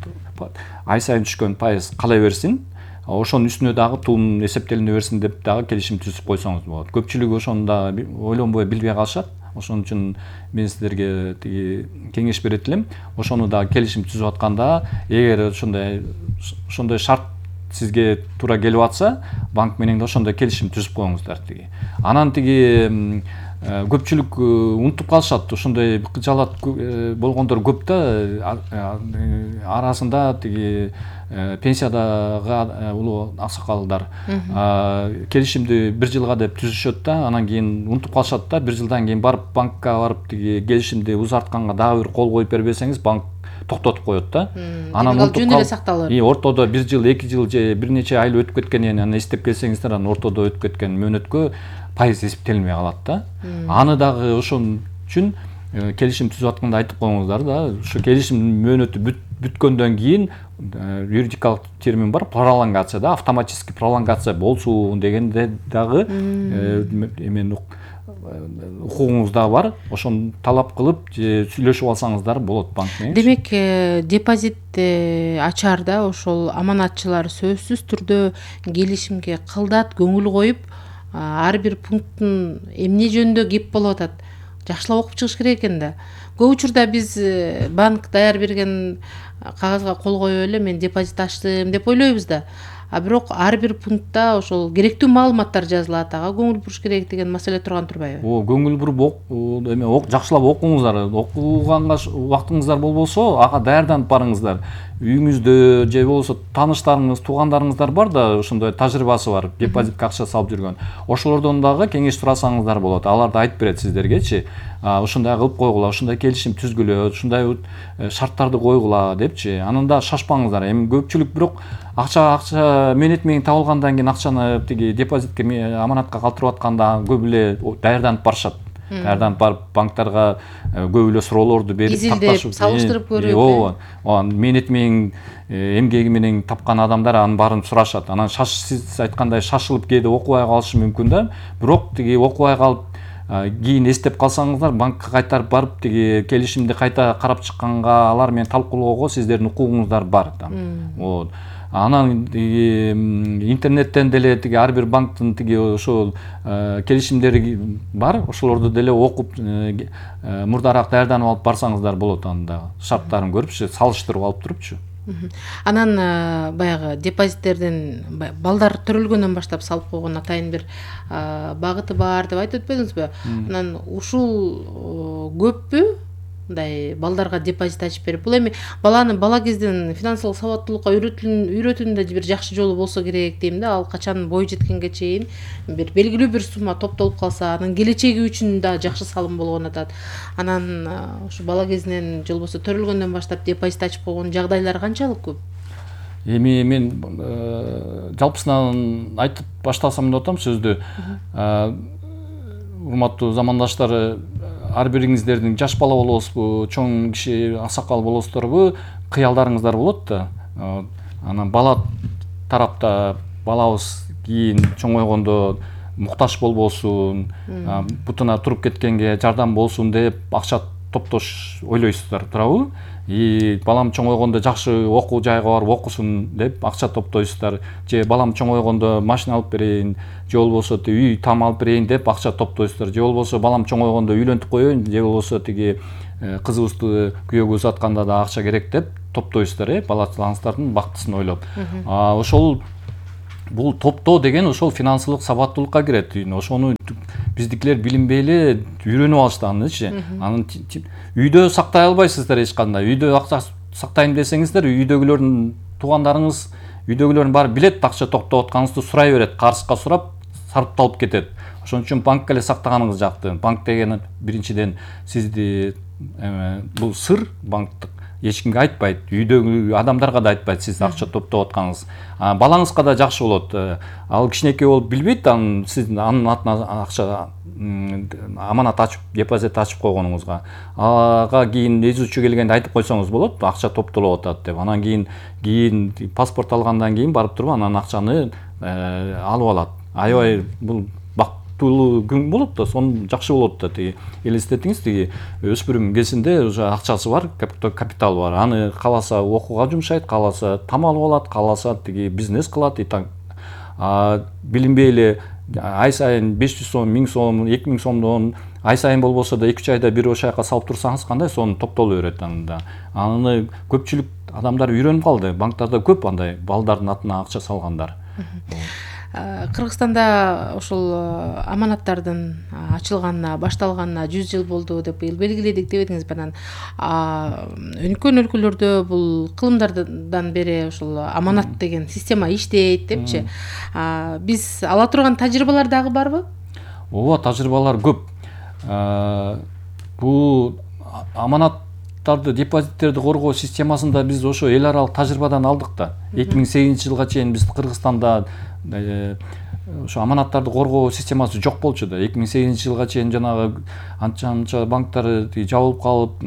ай сайын түшкөн пайыз кала берсин. Ошонун үстүнө дагы туум эсептелине берсин деп дагы келишим түзүп койсоңуз болот. Көпчүлүгү ошону да ойлонбой, билбей калышат. Ошон үчүн мен сиздерге тиги кеңеш берет элем. Ошону да келишим түзүп атканда, эгер ошондой ошондой шарт сизге туура келип атса, банк менен да ошондой келишим түзүп коюңуздар тиги. Анан тиги көпчүлүк унутуп калышат, ошондой кыжалат болгондор көп да, арасында тиги пенсиядагы улуу аксакалдар келишимди бир жылга деп түзүшөт да, анан кийин унутуп калышат да, бир жылдан кийин барып банкка барып тиги келишимди узартканга дагы бир кол коюп бербесеңиз, банк токтотуп коет да. Анан жөн эле сакталат. И ортодо бир жыл, эки жыл же бир нече ай өтүп кеткенен анан эстеп келсеңиздер, анан ортодо өтүп кеткен мөөнөткө пайыз эсептелинбей калат да. Аны дагы ошон үчүн келишим түзүп атканда айтып коюңуздар да. Ушу келишим мөөнөтү бүткөндөн кийин юридикалык термин бар, пролонгация да, автоматический пролонгация болсун дегенде дагы эмен укугуңуз да бар. Ошону талап кылып же сүйлөшүп алсаңыздар болот банк менен. Демек, депозит ачаарда ошол аманатчылар сөзсүз түрдө келишимге кылдат көңүл коюп, ар бир пункттун эмне жөнүндө кеп болуп атат жакшылап окуп чыгыш керек экен да. Көп учурда биз банк даяр берген кагазга кол коюп эле мен депозит ачтым деп ойлойбуз да. А бирок ар бир пунктта ошол керектүү маалыматтар жазылат, ага көңүл буруш керек деген маселе турган турбайбы? О, көңүл буруп эме жакшылап окуңуздар. Окуганга убактыңыздар болбосо, ага даярданып барыңыздар. Үйүңүздө же болбосо тааныштарыңыз, туугандарыңыздар бар да, ошондой тажрыйбасы бар, депозитке акча салып жүргөн. Ошолордон дагы кеңеш сурасаңыздар болот. Алар да айтып берет сиздергечи. Ушундай кылып койгула, ушундай келишим түзгүлө, ушундай шарттарды койгула депчи. Анан да шашпаңыздар. Эми көпчүлүк бирок акча акча менет менен табылгандан кийин акчаны тиги депозитке, аманатка калтырып атканда көп эле даярданып барышат. Даярданып барып банктарга көп эле суроолорду берип, такташып, салыштырып көрүп. Ооба, менет менен эмгеги менен тапкан адамдар анын баарын сурашат. Анан шаш сиз айткандай шашылып кээде окубай калышы мүмкүн да. Бирок тиги окубай калып кийин эстеп калсаңыздар, банкка кайтарып барып тиги келишимди кайта карап чыкканга, алар менен талкуулоого сиздердин укугуңуздар бар да. Вот. Анан тиги интернеттен деле тиги ар бир банктын тиги ошол келишимдери бар, ошолорду деле окуп мурдараак даярданып алып барсаңыздар болот, анда шарттарын көрүпчү, салыштырып алып турупчу. Анан баягы депозиттердин балдар төрөлгөндөн баштап салып койгон атайын бир багыты бар деп айтып өтпөдүңүзбү? Анан ушул көппү? Мындай балдарга депозит ачып берип, бул эми баланы бала кезден финансылык сабаттуулукка үйрөтүүнүн да бир жакшы жолу болсо керек дейм да. Ал качан бой жеткенге чейин бир белгилүү бир сумма топтолуп калса, анын келечеги үчүн да жакшы салым болгон атат. Анан ушу бала кезинен же болбосо төрөлгөндөн баштап депозит ачып койгон жагдайлар канчалык көп? эми мен жалпысынан айтып баштасам деп атам сөздү. Урматтуу замандаштар, ар бириңиздердин жаш бала болосузбу, чоң киши, аксакал болосуздарбу, кыялдарыңыздар болот да. Анан бала тарапта балабыз кийин чоңойгондо муктаж болбосун, бутуна туруп кеткенге жардам болсун деп акча топтош ойлойсуздар, туурабы? И балам чоңойгондо жакшы окуу жайга барып окусун деп акча топтойсуздар, же балам чоңойгондо машина алып берейин, же болбосо үй там алып берейин деп акча топтойсуздар, же болбосо балам чоңойгондо үйлөнтүп коеюн, же болбосо тиги кызыбызды күйөөгө узатканда да акча керек деп топтойсуздар, э, балачыларыңыздардын бактысын ойлоп. Ошол бул топтоо деген ошол финансылык сабаттуулукка кирет. Ошону биздикилер билинбей эле үйрөнүп алышты анычы. Анын үйдө сактай албайсыздар эч кандай. Үйдө акча сактайм десеңиздер, үйдөгүлөрдүн туугандарыңыз, үйдөгүлөрдүн баары билет, акча токтоп атканыңызды сурай берет, карызга сурап сарпталып кетет. Ошон үчүн банкка эле сактаганыңыз жакты. Банк деген биринчиден сизди бул сыр банктык эч кимге айтпайт, үйдөгү адамдарга да айтпайт сиз акча топтоп атканыңыз. Балаңызга да жакшы болот. Ал кичинекей болуп билбейт, анын сиздин анын атына акча аманат ачып, депозит ачып койгонуңузга. Ага кийин изучу келгенде айтып койсоңуз болот, акча топтолуп атат деп. Анан кийин кийин паспорт алгандан кийин барып туруп анан акчаны алып алат. Аябай бул бактылуу күн болот да, сон жакшы болот да. Тиги элестетиңиз, тиги өспүрүм кезинде уже акчасы бар, капиталы бар. Аны кааласа окууга жумшайт, кааласа там алып алат, кааласа тиги бизнес кылат. Билинбей эле ай сайын беш жүз сом, миң сом, эки миң сомдон ай сайын болбосо да эки үч айда бир ошол жака салып турсаңыз кандай сону топтоло берет анында. Аны көпчүлүк адамдар үйрөнүп калды. Банктарда көп андай балдардын атына акча салгандар. Кыргызстанда ошол аманаттардын ачылганына, башталганына жүз жыл болду деп быйыл белгиледик деп едиңиз. Анан өнүккөн өлкөлөрдө бул кылымдардан бери ошол аманат деген система иштейт депчи. Биз ала турган тажрыйбалар дагы барбы? Ооба, тажрыйбалар көп. Бул аманаттарды, депозиттерди коргоо системасында биз ошо эл аралык тажрыйбадан алдык да. эки миң сегизинчи жылга чейин биз Кыргызстанда ошо аманаттарды коргоо системасы жок болчу да. эки миң сегизинчи жылга чейин жанагы анча-анча банктар жабылып калып,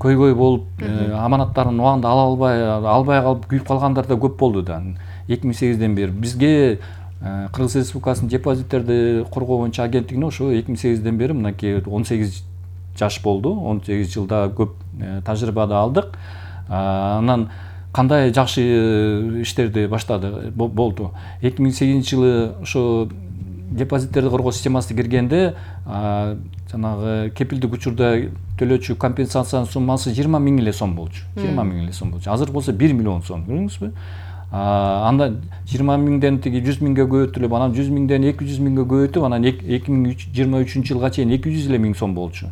көйгөй болуп, аманаттарын убагында ала албай, албай калып күйүп калгандар да көп болду да. эки миң сегизден бери бизге Кыргыз Республикасынын депозиттерди коргоо боюнча агенттигине ошо эки миң сегизден бери мынакей он сегиз жаш болду. он сегиз жылда көп тажрыйбады алдык. Анан кандай жакшы иштерди баштады болду. эки миң сегизинчи жылы ошо депозиттерди коргоо системасына киргенде жанагы кепилдик учурда төлөөчү компенсациянын суммасы жыйырма миң эле сом болчу. жыйырма миң эле сом болчу. Азыр болсо бир миллион сом, көрдүңүзбү? Анда жыйырма миңден тиги жүз миңге көбөйтүлүп, анан жүз миңден эки жүз миңге көбөйтүп, анан эки миң жыйырма үчүнчү жылга чейин эки жүз эле миң сом болчу.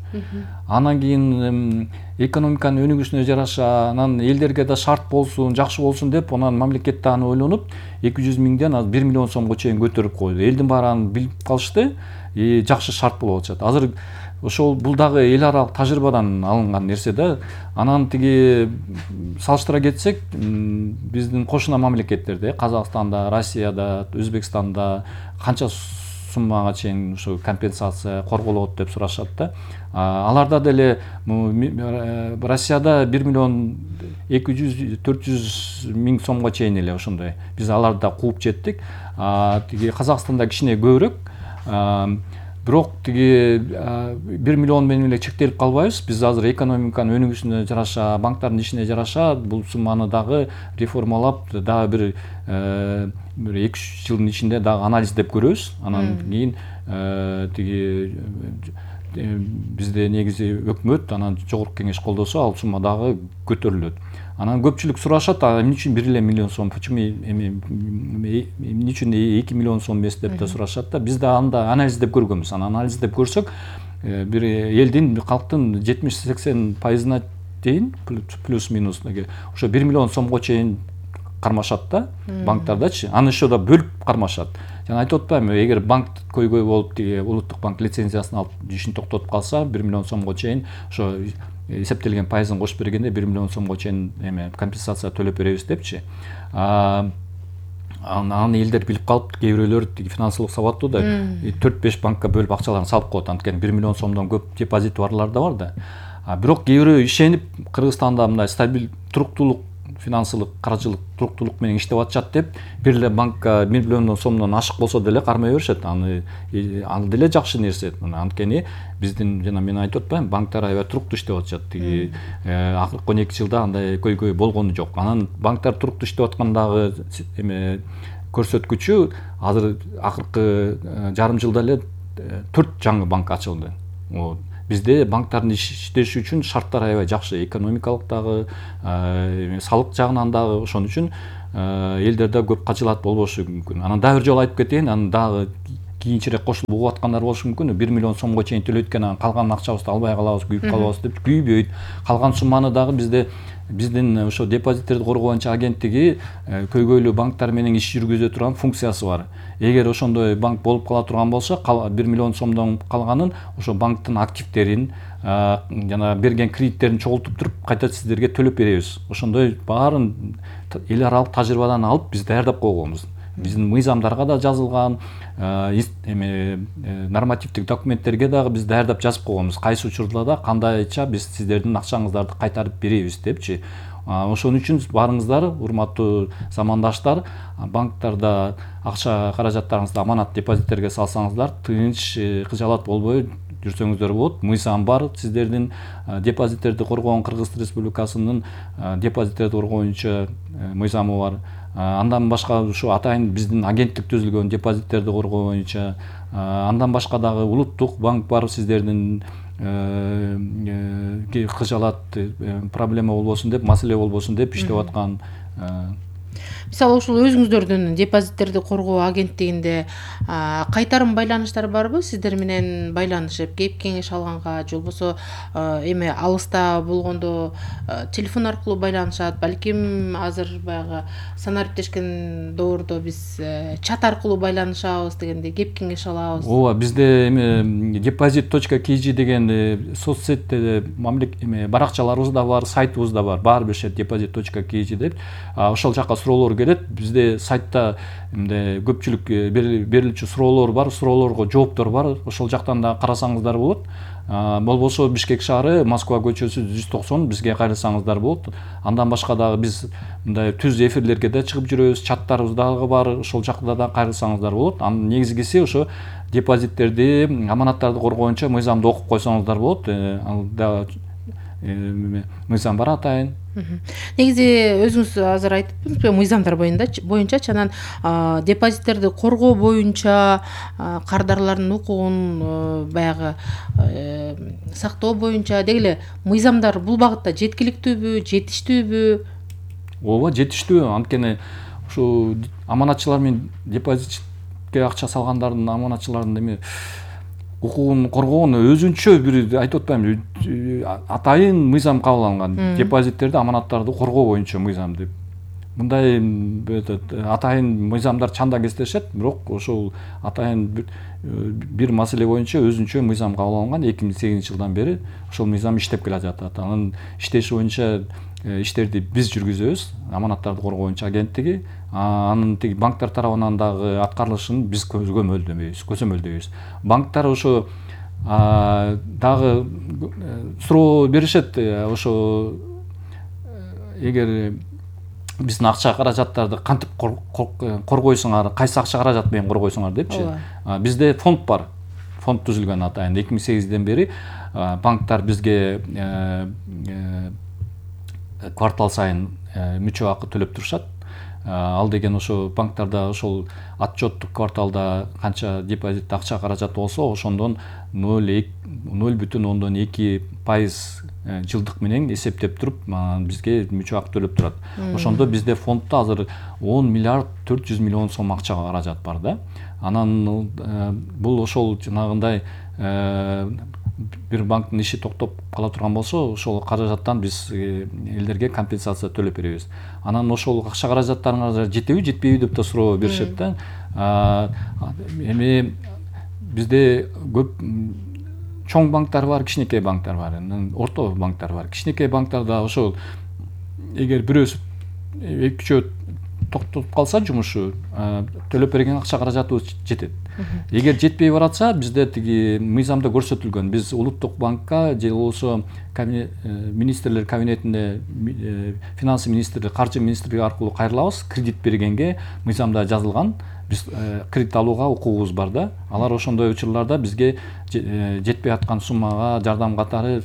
Анан кийин экономиканын өнүгүшүнө жараша, анан элдерге да шарт болсун, жакшы болсун деп, анан мамлекет да аны ойлонуп, эки жүз миңден азыр бир миллион сомго чейин көтөрүп койду. Элдин баары аны билип калышты, и жакшы шарт болуп атышат. Азыр ошол бул дагы эл аралык тажрыйбадан алынган нерсе да. Анан тиги салыштыра кетсек, биздин кошуна мамлекеттерде, Казакстанда, Россияда, Өзбекстанда канча суммага чейин ошо компенсация корголот деп сурашат да. Аларда деле Россияда бир миллион эки жүз төрт жүз миң сомго чейин эле ошондой. Биз аларды кууп жеттик. Тиги Казакстанда кичине көбүрөөк. Бирок тиги бир миллион менен эле чектелип калбайбыз. Биз азыр экономиканын өнүгүшүнө жараша, банктардын ишине жараша бул сумманы дагы реформалап, дагы бир бир эки үч жылдын ичинде дагы анализдеп көрөбүз. Анан кийин тиги бизде негизи өкмөт, анан жогорку кеңеш колдосо, ал сумма дагы көтөрүлөт. Анан көпчүлүк сурашат, эмне үчүн бир эле миллион сом, почему эмне үчүн эки миллион сом эмес деп да сурашат да. Биз да анда анализдеп көргөнбүз. Анан анализдеп көрсөк, бир элдин, калктын жетимиш сексен пайызына чейин плюс-минус ошо бир миллион сомго чейин кармашат да, банктардачы. Аны ошо да бөлүп кармашат. Жана айтып атпаймынбы, эгер банк көйгөй болуп, тиги улуттук банк лицензиясын алып ишин токтотуп калса, бир миллион сомго чейин ошо эсептелген пайызын кошуп бергенде бир миллион сомго чейин эме компенсация төлөп беребиз депчи. Аны элдер билип калып, кээ бирөөлөр финансылык сабаттуу да төрт беш банкка бөлүп акчаларын салып коет. Анткени бир миллион сомдон көп депозити барлар да бар да. Бирок кээ бирөө ишенип Кыргызстанда мындай стабиль, туруктуулук, финансылык, каржылык туруктуулук менен иштеп атышат деп, бир эле банкка бир миллион сомдон ашык болсо деле кармай беришет. Аны ал деле жакшы нерсе. Анткени биздин жана мен айтып атпаймынбы, банктар аябай туруктуу иштеп атышат. Тиги акыркы он эки жылда андай көйгөй болгону жок. Анан банктар туруктуу иштеп аткандагы эме көрсөткүчү азыр акыркы жарым жылда эле төрт жаңы банк ачылды. Бизде банктардын иштеши үчүн шарттар аябай жакшы, экономикалык дагы, салык жагынан дагы. Ошон үчүн элдерде көп кажылат болбошу мүмкүн. Анан дагы бир жолу айтып кетейин, анан дагы кийинчерээк кошулуп угуп аткандар болушу мүмкүн. бир миллион сомго чейин төлөйт экен, анан калган акчабызды албай калабыз, күйүп калабыз деп күйбөйт. Калган сумманы дагы бизде биздин ошо депозиттерди коргоо боюнча агенттиги көйгөйлүү банктар менен иш жүргүзө турган функциясы бар. Эгер ошондой банк болуп кала турган болсо, бир миллион сомдон калганын ошо банктын активдерин жана берген кредиттерин чогултуп туруп кайта сиздерге төлөп беребиз. Ошондой баарын эл аралык тажрыйбадан алып биз даярдап койгонбуз. Биздин мыйзамдарга да жазылган, эме нормативдик документтерге дагы биз даярдап жазып койгонбуз. Кайсы учурда да кандайча биз сиздердин акчаңыздарды кайтарып беребиз депчи. Ошон үчүн барыңыздар, урматтуу замандаштар, банктарда акча каражаттарыңызды аманат депозиттерге салсаңыздар, тынч, кыжалат болбой жүрсөңүздөр болот. Мыйзам бар, сиздердин депозиттерди коргоон Кыргыз Республикасынын депозиттерди коргоо боюнча мыйзамы бар. Андан башка ушу атайын биздин агенттик түзүлгөн депозиттерди коргоо боюнча, андан башка дагы улуттук банк бар, сиздердин кыжалат проблема болбосун деп, маселе болбосун деп иштеп аткан. Мисалы ушул өзүңүздөрдүн депозиттерди коргоо агенттигинде кайтарым байланыштар барбы? Сиздер менен байланышып, кеп кеңеш алганга, же болбосо эме алыста болгондо телефон аркылуу байланышат, балким азыр баягы санариптешкен доордо биз чат аркылуу байланышабыз дегенде кеп кеңеш алабыз. Ооба, бизде эме депозит точка кей жи деген соцсетте эме баракчаларыбыз да бар, сайтыбыз да бар. Баары бир депозит точка кей жи деп. Ошол жака суроолор келет. Бизде сайтта эмне көпчүлүк берилчү суроолор бар, суроолорго жооптор бар. Ошол жактан да карасаңыздар болот. Болбосо Бишкек шаары, Москва көчөсү жүз токсон бизге кайрылсаңыздар болот. Андан башка дагы биз мындай түз эфирлерге да чыгып жүрөбүз, чаттарыбыз дагы бар. Ошол жакта да кайрылсаңыздар болот. Анын негизгиси ошо депозиттерди, аманаттарды коргоо боюнча мыйзамды окуп койсоңуздар болот. Ал да мыйзам бар атайын. Негизи өзүңүз азыр айтыпсызбы, мыйзамдар боюнчачы, анан депозиттерди коргоо боюнча кардарлардын укугун баягы сактоо боюнча деги мыйзамдар бул багытта жеткиликтүүбү, жетиштүүбү? Ооба, жетиштүү. Анткени ушу аманатчылар менен депозитке акча салгандардын, аманатчылардын эми укугун коргоон өзүнчө бир айтып атпаймынбы, атайын мыйзам кабыл алынган. Депозиттерди, аманаттарды коргоо боюнча мыйзам деп. Мындай атайын мыйзамдар чанда кездешет, бирок ошол атайын бир маселе боюнча өзүнчө мыйзам кабыл алынган. эки миң сегизинчи жылдан бери ошол мыйзам иштеп келе жатат. Анын иштеши боюнча иштерди биз жүргүзөбүз, аманаттарды коргоо боюнча агенттиги. Анын тиги банктар тарабынан дагы аткарылышын биз көзөмөлдөйбүз, көзөмөлдөйбүз. Банктар ошо дагы суроо беришет, ошо эгер биздин акча каражаттарды кантип коргойсуңар, кайсы акча каражат менен коргойсуңар депчи. Бизде фонд бар. Фонд түзүлгөн атайын. эки миң сегизден бери банктар бизге квартал сайын мүчө акы төлөп турушат. Ал деген ошо банктарда ошол отчеттук кварталда канча депозит акча каражат болсо, ошондон ноль бүтүн ондон эки пайыз жылдык менен эсептеп туруп бизге мүчө акы төлөп турат. Ошондо бизде фонддо азыр он миллиард төрт жүз миллион сом акча каражат бар да. Анан бул ошол жанагындай бир банктын иши токтоп кала турган болсо, ошол каражаттан биз элдерге компенсация төлөп беребиз. Анан ошол акча каражаттарыңар жетеби, жетпейби деп да суроо беришет да. Эми бизде көп чоң банктар бар, кичинекей банктар бар, орто банктар бар. Кичинекей банктарда ошол эгер бирөөсү эки үчөө токтоп калса жумушу, төлөп берген акча каражатыбыз жетет. Эгер жетпей баратса, бизде тиги мыйзамда көрсөтүлгөн, биз улуттук банкка же болбосо министрлер кабинетине, финансы министрлиги, каржы министрлиги аркылуу кайрылабыз. Кредит бергенге мыйзамда жазылган, биз кредит алууга укугубуз бар да. Алар ошондой учурларда бизге жетпей аткан суммага жардам катары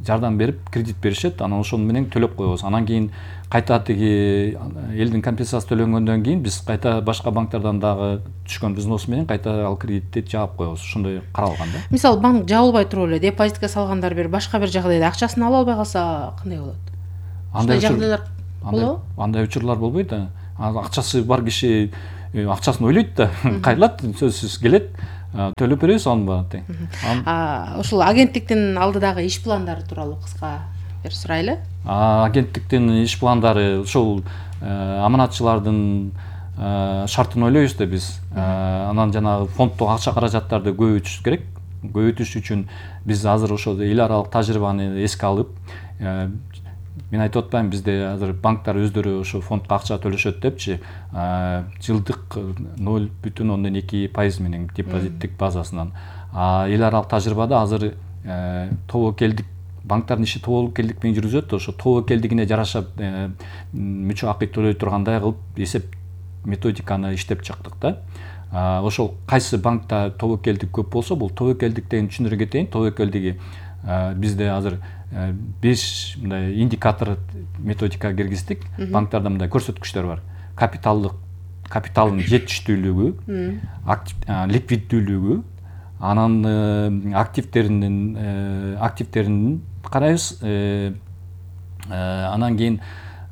жардам берип кредит беришет. Анан ошону менен төлөп коебуз. Анан кийин кайта тиги элдин компенсация төлөнгөндөн кийин биз кайта башка банктардан дагы түшкөн взнос менен кайта ал кредитти жаап коебуз. Ошондой каралган да. Мисалы банк жабылбай туруп эле депозитке салгандар бир башка бир жагдайда акчасын ала албай калса кандай болот? Андай жагдайлар болобу? Андай учурлар болбойт да. Акчасы бар киши акчасын ойлойт да, кайрылат, сөзсүз келет, төлөп беребиз анын баарын. Ошол агенттиктин алдыдагы иш пландары тууралуу кыска бир сурайлы. Агенттиктин иш пландары ошол аманатчылардын шартын ойлойбуз да биз. Анан жанагы фонддук акча каражаттарды көбөйтүш керек. Көбөйтүш үчүн биз азыр ошол эл аралык тажрыйбаны эске алып, мен айтып атпайм, бизде азыр банктар өздөрү ошо фондко акча төлөшөт депчи, жылдык ноль бүтүн ондон эки пайыз менен депозиттик базасынан. Эл аралык тажрыйбада азыр тобокелдик банктардын иши тобокелдик менен жүргүзөт. Ошо тобокелдигине жараша мүчө акы төлөй тургандай кылып эсеп методиканы иштеп чыктык да. Ошол кайсы банкта тобокелдик көп болсо, бул тобокелдик деген түшүнүрө кетейин. Тобокелдиги бизде азыр беш мындай индикатор методика киргиздик. Банктарда мындай көрсөткүчтөр бар. Капиталдык, капиталдын жетиштүүлүгү, ликвиддүүлүгү, анан активтеринин активтерин карайбыз. Анан кийин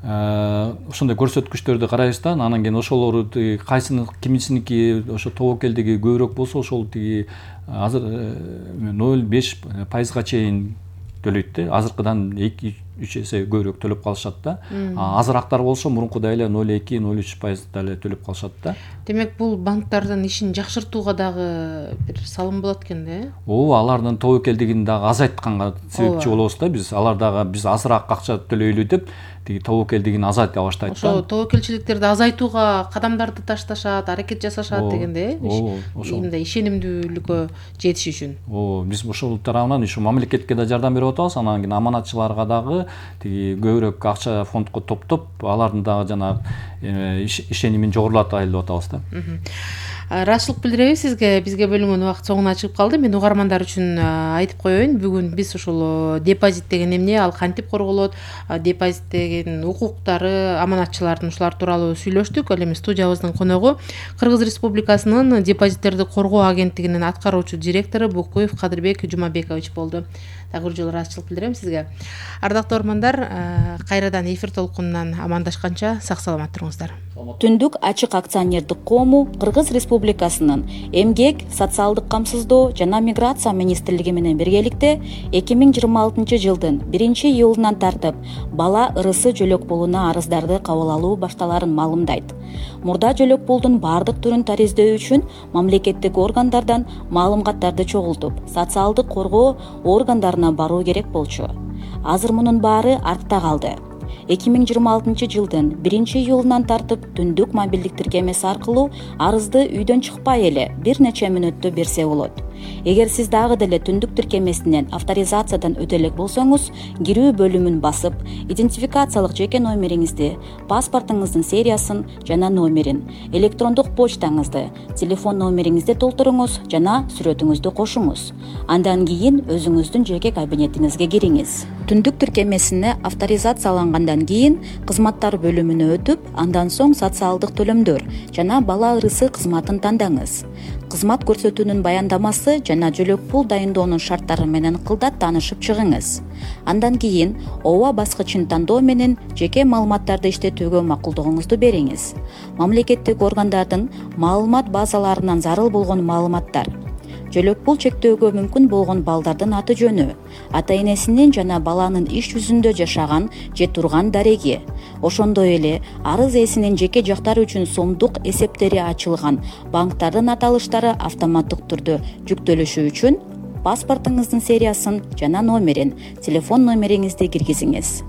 ошондой көрсөткүчтөрдү карайбыз да. Анан кийин ошолору кайсынын кимисиники ошо тобокелдиги көбүрөөк болсо, ошол тиги азыр ноль беш пайызга чейин төлөйт да. Азыркыдан эки үч эсе көбүрөөк төлөп калышат да. Азырактар болсо мурункудай эле ноль эки ноль үч пайызда эле төлөп калышат да. Демек бул банктардын ишин жакшыртууга дагы бир салым болот экен да. Ооба, алардын тобокелдигин дагы азайтканга себепчи болобуз да биз. Алар дагы биз азыраак акча төлөйлү деп тиги тобокелдигин азайта баштайт да. Ошо тобокелчиликтерди азайтууга кадамдарды ташташат, аракет жасашат дегенде, мындай ишенимдүүлүккө жетиш үчүн. Ооба, биз ошол тарабынан ушу мамлекетке да жардам берип атабыз, анан кийин аманатчыларга дагы тиги көбүрөөк акча фондко топтоп, алардын дагы жанагы ишенимин жогорулатайлы деп атабыз да. Ыраазычылык билдиребиз сизге. Бизге бөлүнгөн убакыт соңуна чыгып калды. Мен угармандар үчүн айтып коеюн, бүгүн биз ушул депозит деген эмне, ал кантип корголот, депозит деген укуктары, аманатчылардын ушулар тууралуу сүйлөштүк. Ал эми студиябыздын коногу Кыргыз Республикасынын депозиттерди коргоо агенттигинин аткаруучу директору Букуев Кадырбек Жумабекович болду. Дагы бир жолу ыраазычылык билдирем сизге. Ардактуу угармандар, кайрадан эфир толкунунан амандашканча сак саламат туруңуздар. Түндүк ачык акционердик коому Кыргыз Республикасынын Эмгек, социалдык камсыздоо жана миграция министрлиги менен биргеликте эки миң жыйырма алтынчы жылдын биринчи июлунан тартып бала ырысы жөлөк пулуна арыздарды кабыл алуу башталарын маалымдайт. Мурда жөлөк пулдун бардык түрүн тариздөө үчүн мамлекеттик органдардан маалыматтарды чогултуп, социалдык коргоо органдарына баруу керек болчу. Азыр мунун баары артта калды. эки миң жыйырма алтынчы жылдын биринчи июлунан тартып түндүк мобилдик тиркемеси аркылуу арызды үйдөн чыкпай эле бир нече мүнөттө берсе болот. Эгер сиз дагы деле түндүк тиркемесинен авторизациядан өтө элек болсоңуз, кирүү бөлүмүн басып, идентификациялык жеке номериңизди, паспортуңуздун сериясын жана номерин, электрондук почтаңызды, телефон номериңизди толтуруңуз жана сүрөтүңүздү кошуңуз. Андан кийин өзүңүздүн жеке кабинетиңизге кириңиз. Түндүк тиркемесине авторизациялангандан кийин кызматтар бөлүмүнө өтүп, андан соң социалдык төлөмдөр жана бала ырысы кызматын тандаңыз. Кызмат көрсөтүүнүн баяндамасы жана жөлөк пул дайындоонун шарттары менен кылдат таанышып чыгыңыз. Андан кийин ооба баскычын тандоо менен жеке маалыматтарды иштетүүгө макулдугуңузду бериңиз. Мамлекеттик органдардын маалымат базаларынан зарыл болгон маалыматтар, жөлөк пул чектөөгө мүмкүн болгон балдардын аты жөнү, ата энесинин жана баланын иш жүзүндө жашаган же турган дареги, ошондой эле арыз ээсинин жеке жактары үчүн сомдук эсептери ачылган банктардын аталыштары автоматтык түрдө жүктөлүшү үчүн паспортуңуздун сериясын жана номерин, телефон номериңизди киргизиңиз.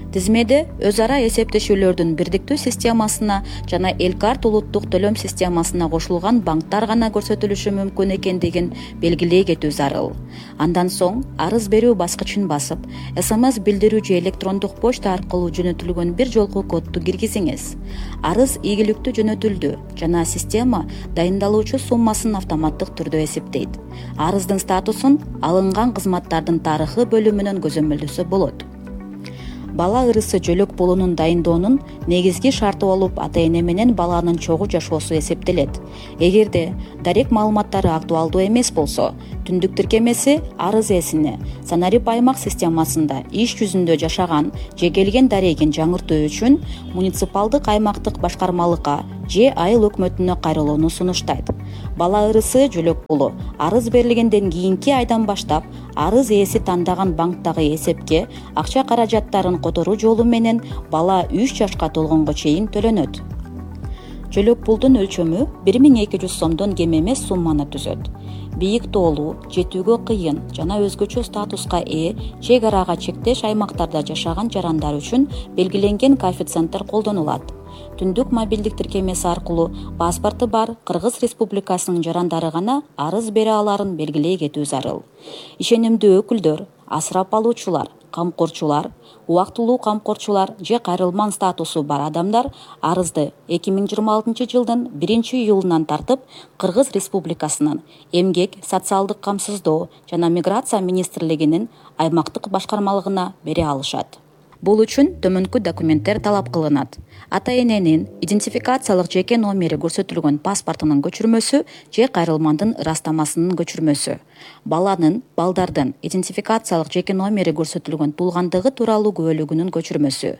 Тизмеде өз ара эсептешүүлөрдүн бирдиктүү системасына жана Элкарт улуттук төлөм системасына кошулган банктар гана көрсөтүлүшү мүмкүн экендигин белгилей кетүү зарыл. Андан соң арыз берүү баскычын басып, эс эм эс билдирүү же электрондук почта аркылуу жөнөтүлгөн бир жолку кодду киргизиңиз. Арыз ийгиликтүү жөнөтүлдү жана система дайындалуучу суммасын автоматтык түрдө эсептейт. Арыздын статусун алынган кызматтардын тарыхы бөлүмүнөн көзөмөлдөсө болот. Бала ырысы жөлөк пулунун дайындоонун негизги шарты болуп ата эне менен баланын чогуу жашоосу эсептелет. Эгерде дарек маалыматтары актуалдуу эмес болсо, түндүк тиркемеси арыз ээсине Санарип аймак системасында иш жүзүндө жашаган же келген дарегин жаңыртуу үчүн муниципалдык аймактык башкармалыкка же айыл өкмөтүнө кайрылууну сунуштайт. Бала ырысы жөлөк пулу арыз берилгенден кийинки айдан баштап арыз ээси тандаган банктагы эсепке акча каражаттарын которуу жолу менен бала үч жашка толгонго чейин төлөнөт. Жөлөк пулдун өлчөмү бир миң эки жүз сомдон кем эмес сумманы түзөт. Бийик тоолуу, жетүүгө кыйын жана өзгөчө статуска ээ чек арага чектеш аймактарда жашаган жарандар үчүн белгиленген коэффициенттер колдонулат. Түндүк мобилдик тиркемеси аркылуу паспорту бар Кыргыз Республикасынын жарандары гана арыз бере аларын белгилей кетүү зарыл. Ишенимдүү өкүлдөр, асырап алуучулар, камкорчулар, убактылуу камкорчулар же кайрылман статусу бар адамдар арызды эки миң жыйырма алтынчы жылдын биринчи июлунан тартып Кыргыз Республикасынын Эмгек, социалдык камсыздоо жана миграция министрлигинин аймактык башкармалыгына бере алышат. Бул үчүн төмөнкү документтер талап кылынат. Ата эненин идентификациялык жеке номери көрсөтүлгөн паспортунун көчүрмөсү же кайрылмандын ырастамасынын көчүрмөсү. Баланын, балдардын идентификациялык жеке номери көрсөтүлгөн туулгандыгы тууралуу күбөлүгүнүн көчүрмөсү.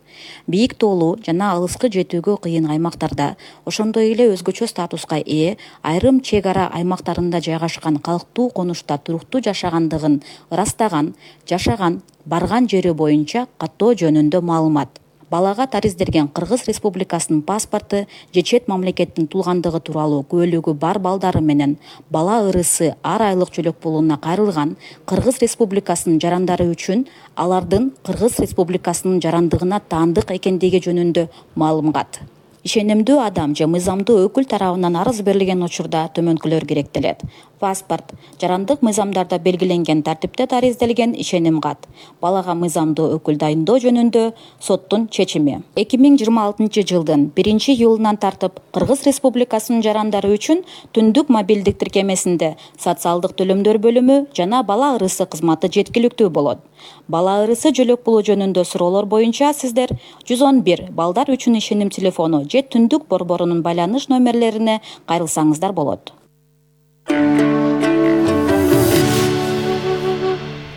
Бийик тоолуу жана алыскы жетүүгө кыйын аймактарда, ошондой эле өзгөчө статуска ээ айрым чек ара аймактарында жайгашкан калктуу конушта туруктуу жашагандыгын ырастаган, жашаган, барган жери боюнча каттоо жөнүндө маалымат. Балага тариздерген Кыргыз Республикасынын паспорту же чет мамлекеттин туулгандыгы тууралуу күбөлүгү бар балдары менен бала ырысы ар айлык жөлөк пулуна кайрылган Кыргыз Республикасынын жарандары үчүн алардын Кыргыз Республикасынын жарандыгына таандык экендиги жөнүндө маалымат. Ишенимдүү адам же мыйзамдуу өкүл тарабынан арыз берилген учурда төмөнкүлөр керектелет. Паспорт, жарандык мыйзамдарда белгиленген тартипте тариздалген ишеним кат. Балага мыйзамдуу өкүл дайындоо жөнүндө соттун чечими. эки миң жыйырма алтынчы жылдын биринчи июлунан тартып Кыргыз Республикасынын жарандары үчүн түндүк мобилдик тиркемесинде социалдык төлөмдөр бөлүмү жана бала ырысы кызматы жеткиликтүү болот. Бала ырысы жөлөк пулу жөнүндө суроолор боюнча сиздер жүз он бир балдар үчүн ишеним телефону же түндүк борборунун байланыш номерлерине кайрылсаңыздар болот.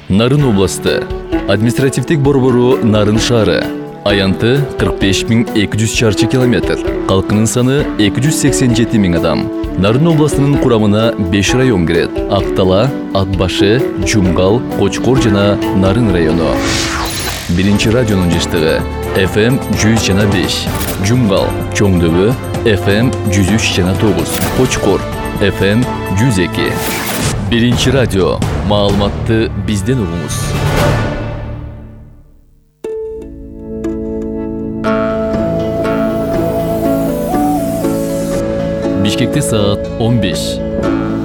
Нарын областы административдик борбору Нарын шаары. Аянты кырк беш миң эки жүз чарчы километр. Калкынын саны эки жүз сексен жети миң адам. Нарын областынын курамына беш район кирет. Актала, Атбашы, Жумгал, Кочкор жана Нарын району. Биринчи радионун жыштыгы эф эм жүз жана беш. Жумгал, Чоңдөбө эф эм жүз үч жана тогуз. Кочкор эф эм жүз эки. Биринчи радио. Маалыматты бизден угуңуз. Бишкекте саат он беш.